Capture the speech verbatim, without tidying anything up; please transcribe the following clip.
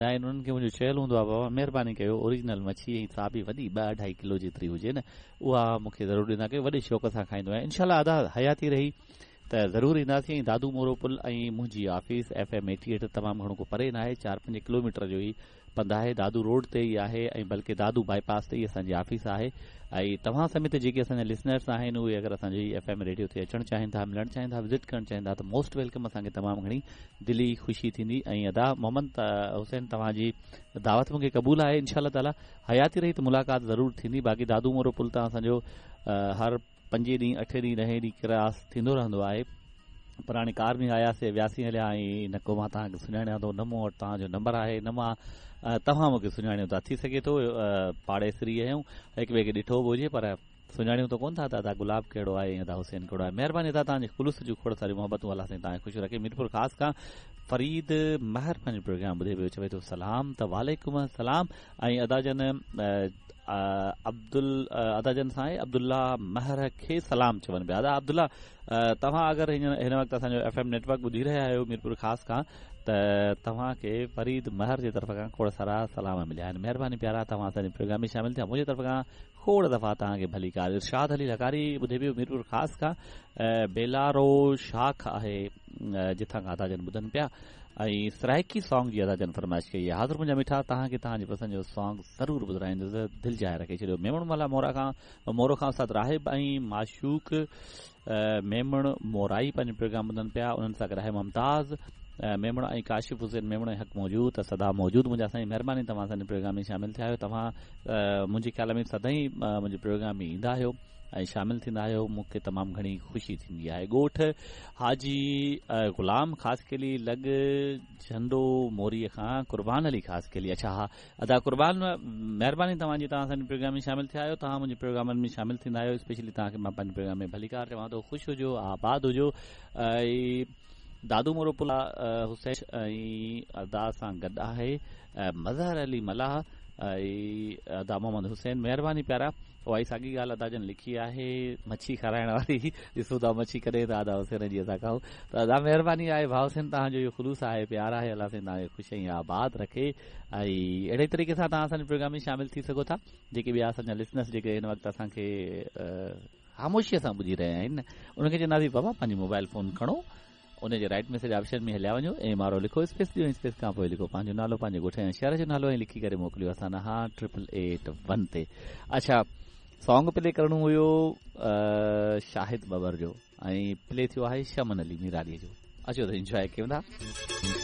آهن انهن کي منهنجو چيل هوندو آهي بابا مهرباني ڪيو اوريجنل مڇي ۽ سا به وڏي ٻه اڍائي ڪلو جيتري هجي نه اها مون کي ضرور ڏيندا ڪيو وڏي شوق سان کائيندو آهيان انشاء الله ادا حياتي رهي ته ضرور اينداسين ۽ دادو مورو پل ۽ منهنجي office F M eighty eight تمام گهڻو ڪو پري نه آهي چار پنج ڪلوميٽر جو ئي پنڌ آهي دادو روڊ تي ئي آهي ۽ بلڪه دادو باءِ پاس تي ئي اسان جي آفيس آهي ۽ توهان سميت جيڪي اسان جا لسنرس آهن اهي اگر اسان جي ايف ايم ريڊيو تي اچڻ چاهين ٿا ملڻ چاهين ٿا وزٽ ڪرڻ چاهين ٿا ته موسٽ welcome اسان کي تمام گهڻي دلي خوشي ٿيندي ۽ ادا محمد حسين توهان جي دعوت مون کي قبول آهي انشاء الله تعاليٰ حياتي رهي ته ملاقات ضرور ٿيندي باقي دادو مورو پل تان اسان جو هر پنجين ڏينهن اٺين ڏينهن ڏهين ڏينهن ڪراس ٿيندو رهندو آهي پر هاڻي ڪار ۾ آياسين وياسين هليا ۽ نه ڪو مان توهان کي سڃاڻيان ٿو نه مون وٽ توهان جو نمبر آهي نه مان توهان مون کي سڃاڻيو ٿا ٿي سگهي ٿو پاڙيسري آهيون هڪ ٻئي کي ڏٺو به هجي پر سڃاڻيون ته ڪونه ٿا ته ادا گلاب ڪهڙو آهي ۽ ادا حسين ڪهڙو آهي مهرباني ادا توهان جي خلوص جون کوڙ ساريون محبتون الله سائين توهان کي خوش رکي ميرپور خاص کان فريد مهر پنهنجو پروگرام ٻڌي پيو چوي ٿو سلام ته وعليڪم السلام ۽ ادا جن عبدل ادا جن سان عبدالله مهر کي سلام چون پيا ادا عبدالله توهان اگر هن وقت اسان جو ايف ايم نيٽ ورڪ ٻڌي رهيا آهيو ميرپور خاص کان ته توهان کي فريد مهر جي طرف کان کوڙ سارا سلام مليا آهن مهرباني پيارا توهان اسان جي پروگرام ۾ شامل ٿيا منهنجي طرف کان کوڙ دفعا توهان کي ڀليڪار ارشاد علي لغاري ٻڌي پيو ميرپور خاص کان بيلارو شاخ آهي جتان کان ادا جن ٻڌن پيا ۽ سرائڪي سانگ جي ادا جن فرمائش ڪئي آهي حاضر منهنجا مٺا توهان کي توهان جي پسند جو سانگ ضرور ٻڌرائيندس دل جاءِ رکي ڇڏيو ميمڻ ملا مورا کان مورو کان استاد راهب ۽ معشوق ميمڻ مورائي پنهنجو پروگرام ٻڌن پيا انهن سان گڏ آهي ممتاز ميمڻ ۽ ڪاشف حسين ميمڻ حق موجود ته سدا موجود منهنجا سائين مهرباني توهان اسان جي پروگرام ۾ شامل ٿيا آهيو توهان منهنجي خيال ۾ سدائين منهنجي پروگرام ۾ ايندا آهيو ۽ شامل ٿيندا آهيو مون کي تمام گهڻي خوشي ٿيندي آهي ڳوٺ حاجي غلام خاصخيلي لڳ جهنڊو موريءَ کان قربان علي خاصخيلي اڇا ها ادا قربان مهرباني توهان جي توهان اسان جي پروگرام ۾ شامل ٿيا آهيو توهان منهنجي پروگرامن ۾ شامل ٿيندا آهيو اسپيشلي توهان کي مان پنهنجي پروگرام ۾ ڀليڪار چوان ٿو خوش هجو آباد هجو ۽ دادو مورو پلا حسين ۽ ادا سان گڏ آهي مظهر علي ملاح ۽ ادا محمد حسين مهرباني پيارا اها ئي ساڳي ڳالهه ادا جن لکي آهي مڇي کارائڻ واري ڏسون ٿا مڇي ڪڏهن ٿا ادا حسين جي اسان کائون ته ادا مهرباني آهي ڀاءُ حسين توهان جو اهو خلوص آهي پيار آهي الله سائين توهان کي خوش ۽ آباد رکي ۽ اهڙي طريقي سان توهان اسان جي پروگرام ۾ شامل ٿي سگهو ٿا جيڪي ٻيا اسان جا لسنرس جيڪي هن وقت اسان کي خاموشيءَ سان ٻڌي رهيا آهن ان کي چونداسين بابا پنهنجي موبائل فون کڻو ان جي رائيٽ ميسيج آپشن ۾ هليا وڃو ايم آر او لکو اسپيس ڏيو اسپيس کان پوءِ لکو پنهنجو نالو پنهنجي ڳوٺ ۽ شهر جو نالو ۽ لکي ڪري موڪليو اسان ڏانهن ٽرپل ايٽ ون تي اڇا سانگ پلي ڪرڻو هيو شاهد ببر جو ۽ پلي ٿيو آهي شمن علي ميرالي جو اچو ته انجواءِ ڪيون ٿا.